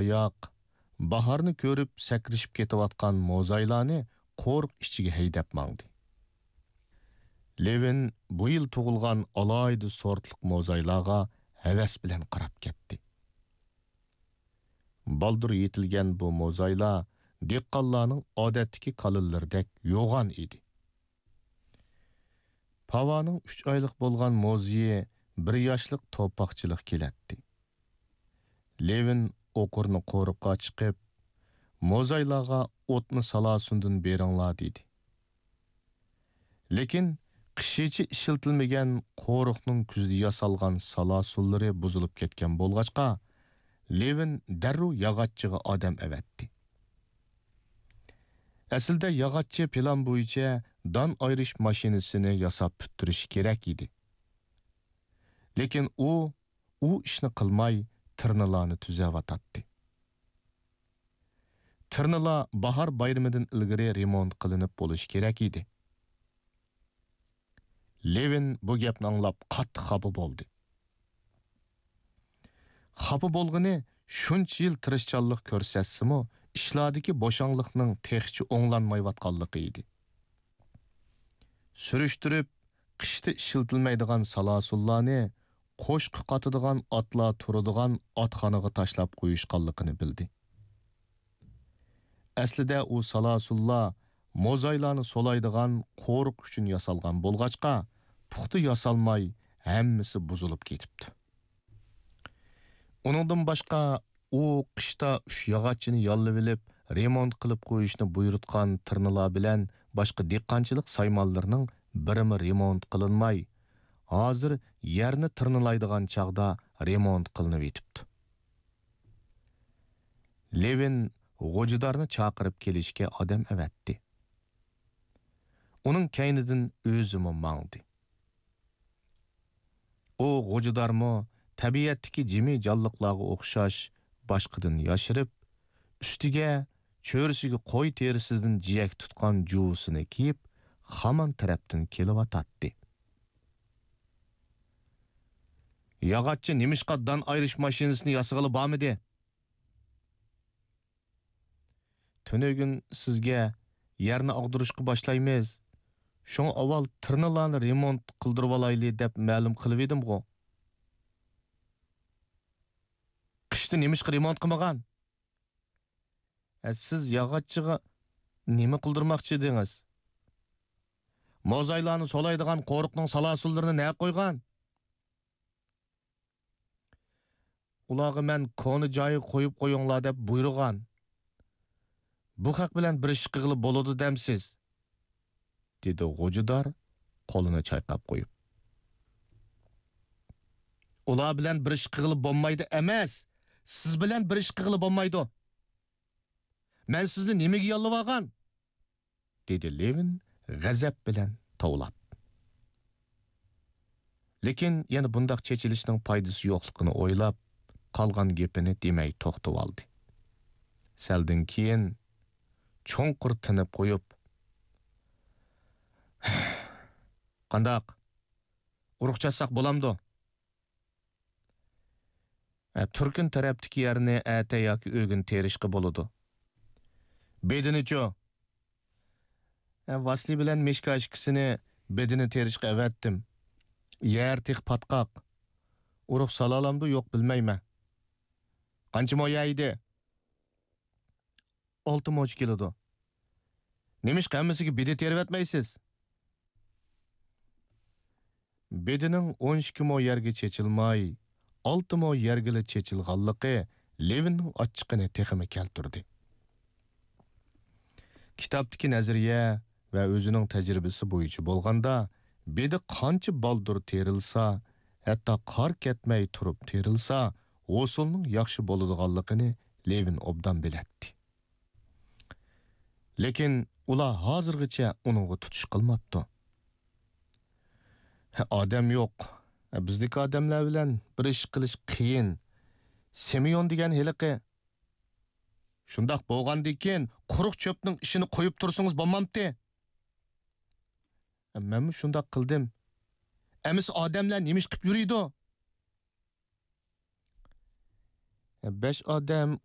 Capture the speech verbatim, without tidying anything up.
ياق، باھارنى كۆرۈپ سەكرىشىپ كېتىۋاتقان موزايلارنى قورۇق ئىچىگە ھەيدەپ ماڭدى. لېۋىن بۇ يىل تۇغۇلغان ئالاھىدە سورتلۇق موزايلارغا ھەۋەس بىلەن قاراپ كەتتى. بالدۇر يېتىلگەن بۇ موزايلار دېھقانلارنىڭ ئادەتتىكى كالىلىرىدەك يوغان ئىدى. پاۋانىڭ ئۈچ ئايلىق بولغان موزىيى بىر ياشلىق توپاقچىلىق كېلەتتى. لېۋىن ئوقۇرنى قورۇققا چىقىپ، موزايلارغا ئوتنى سالاسۇندىن بېرىڭلار دېدى. لېكىن قىشىچە ئىشلىتىلمىگەن قورۇقنىڭ كۈزدە ياسالغان سالاسۇنلىرى بۇزۇلۇپ كەتكەن بولغاچقا، لېۋىن دەررۇ ياغاچچىغا ئادەم ئەۋەتتى. ئەسلىدە ياغاچچى پىلان بويىچە دان ئايرىش ماشىنىسىنى ياساپ پۈتتۈرۈشى كېرەك ئىدى. لېكىن ئۇ، ئۇ ئىشنى قىلماي، تىرنىلارنى تۈزەۋاتاتتى. تىرنىلار باھار بايرىمىدىن ئىلگىرى رېمونت قىلىنىپ بولۇشى كېرەك ئىدى. لېۋىن بۇ گەپنى ئاڭلاپ قاتتىق خاپا بولدى. خاپا بولغىنى شۇنچە يىل تىرىشچانلىق كۆرسەتسىمۇ، ئىشلاردىكى بوشاڭلىقنىڭ تېخىچە ئوڭلانمايۋاتقانلىقى ئىدى. سۈرۈشتۈرۈپ، قىشتا ئىشلىتىلمەيدىغان سالاسۇنلارنى قوشقا قاتىدىغان ئاتلار تۇرىدىغان ئاتخانىغا تاشلاپ قويۇشقانلىقىنى بىلدى. ئەسلىدە ئۇ سالاسۇنلار موزايلارنى سولايدىغان قورۇق ئۈچۈن ياسالغان بولغاچقا، پۇختا ياسالماي، ھەممىسى بۇزۇلۇپ كېتىپتۇ. ئۇنىڭدىن باشقا، ئۇ قىشتا ئۈچ ياغاچچىنى ياللىۋېلىپ، رېمونت قىلىپ قويۇشنى بۇيرۇتقان تىرنىلار بىلەن باشقا دېھقانچىلىق سايمانلىرىنىڭ بىرىمۇ رېمونت قىلىنماي، ھازىر يەرنى تىرنىلايدىغان چاغدا رېمونت قىلىنىۋېتىپتۇ. لېۋىن غوجىدارنى چاقىرىپ كېلىشكە ئادەم ئەۋەتتى. ئۇنىڭ كەينىدىن ئۆزىمۇ ماڭدى. ئۇ غوجىدارمۇ تەبىئەتتىكى جىمى جانلىقلارغا ئوخشاش باشقىدىن ياشىرىپ، ئۈستىگە چۆرىسىگە قوي تېرىسىدىن جىيەك تۇتقان جۇۋىسىنى كىيىپ، خامان تەرەپتىن كېلىۋاتاتتى. ياغاچچى نېمىشقا دان ئايرىش ماشىنىسىنى ياسىغىلى بارمىدى؟ تۈنۈگۈن سىزگە يەرنى ئاغدۇرۇشقا باشلايمىز، شۇڭا ئاۋۋال تىرنىلارنى رېمونت قىلدۇرۇۋالايلى دەپ مەلۇم قىلىۋىدىمغۇ. قىشتا نېمىشقا رېمونت قىلمىغان؟ ئە، سىز ياغاچچىغا نېمە قىلدۇرماقچى ئىدىڭىز؟ موزايلارنى سولايدىغان قورۇقنىڭ سالاسۇنلىرىنى نەگە قويغان؟ ئۇلارغا مەن كونا جايىغا قويۇپ قويۇڭلار دەپ بۇيرۇغان. بۇ خەق بىلەن بىر ئىش قىلغىلى بولىدۇ دەمسىز؟ دېدى غوجىدار قولىنى چايقاپ قويۇپ. ئۇلار بىلەن بىر ئىش قىلغىلى بولمايدۇ ئەمەس، سىز بىلەن بىر ئىش قىلغىلى بولمايدۇ. مەن سىزنى نېمىگە ياللىۋالغان؟ دېدى لېۋىن غەزەپ بىلەن توۋلاپ. لېكىن يەنە بۇنداق چېچىلىشنىڭ پايدىسى يوقلۇقىنى ئويلاپ، قالغان گېپىنى دېمەي توختىۋالدى. سەلدىن كېيىن چوڭقۇر تىنىپ قويۇپ، «قانداق؟ ئۇرۇق چاچساق بولامدۇ؟» ھە، تۈركۈن تەرەپتىكى يەرنى ئەتە ياكى ئۆگۈن تېرىشقا بولىدۇ. بېدىنىچۇ؟ ھە، ۋاسلىي بىلەن مىشكا ئىككىسىنى بېدىنى تېرىشقا ئەۋەتتىم. يەر تېخى پاتقاق. ئۇرۇق سالالامدۇ يوق بىلمەيمەن. قانچە مو يەر ئىدى؟ ئالتە موچە كېلىدۇ. نېمىشقا ھەممىسىگە بېدە تېرىۋەتمەيسىز؟ بېدىنىڭ ئون ئىككى مو يەرگە چېچىلماي، ئالتە مو يەرگىلا چېچىلغانلىقى لېۋىننىڭ ئاچچىقىنى تېخىمۇ كەلتۈردى. كىتابتىكى نەزەرىيە ۋە ئۆزىنىڭ تەجرىبىسى بويىچە بولغاندا، بېدە قانچە بالدۇر تېرىلسا، ھەتتا قار كەتمەي تۇرۇپ تېرىلسا، ھوسۇلنىڭ ياخشى بولىدىغانلىقىنى لېۋىن ئوبدان بىلەتتى. لېكىن ئۇلار ھازىرغىچە ئۇنىڭغا تۇتۇش قىلماپتۇ. ئادەم يوق. بىزدىكى ئادەملەر بىلەن بىر ئىش قىلىش قىيىن. سىمېئون دېگەن ھېلىقى. شۇنداق بولغاندىكىن، قۇرۇق چۆپنىڭ ئىشىنى قويۇپ تۇرسىڭىز بولمامتى؟ مەنمۇ شۇنداق قىلدىم. ئەمىسە ئادەملەر نېمە ئىش قىپ يۈرىدۇ؟ بەش ئادەم